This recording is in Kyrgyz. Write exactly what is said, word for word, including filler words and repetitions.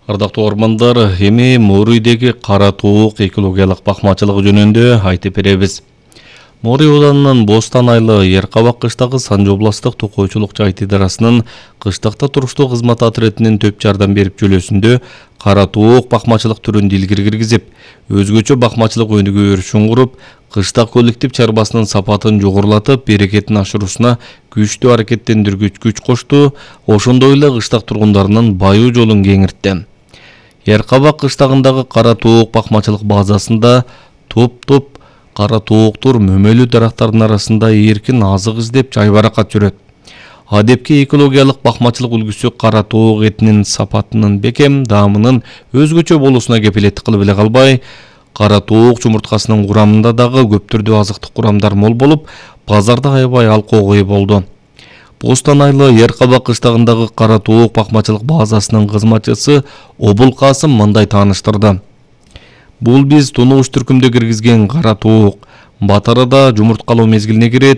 Ардактуу ормандар, эми Морийдеги кара туук экологиялык бакмачылыгы жөнүндө айтып беребиз. Морий ооданынын Бостан айлы Еркабак кыштагы Санжы областык токойчулук жайыт идарасынын кыштакта туруштуу кызмат отрядынын төп жардам берип жөлөсүндө кара туук бакмачылык түрүн дилгире киргизип, өзгөчө бакмачылык өнүгүү өрүшүн куруп, кыштак коллектив чарбасынын сапатын жогорулатып, берекетин ашыруусуна күчтүү аракеттендиргүч күч кошту, ошондой эле кыштак тургундарынын баюу жолун кеңиртти. Еркабак кыштагындагы кара туук бакмачылык базасында топ-топ кара тууктур мөмөлүү дарактардын арасында эркин азык издеп жайбаракат жүрөт. Адепки экологиялык бакмачылык үлгүсү кара туук этинин сапатынын бекем, даамынын өзгөчө болуусуна кепилеттик кылып эле калбай, кара туук жумурткасынын курамында дагы көп түрдүү азыктык курамдар мол болуп, базарда аябай алкоого ээ болду. Бостан айлы Еркабак кыштагындагы кара туук бакмачылык базасынын кызматчысы Обул Касым мындай тааныштырды. Бул биз тунугуш түркүмдө киргизген кара туук. Батарада жумурткалоо мезгилине кирет,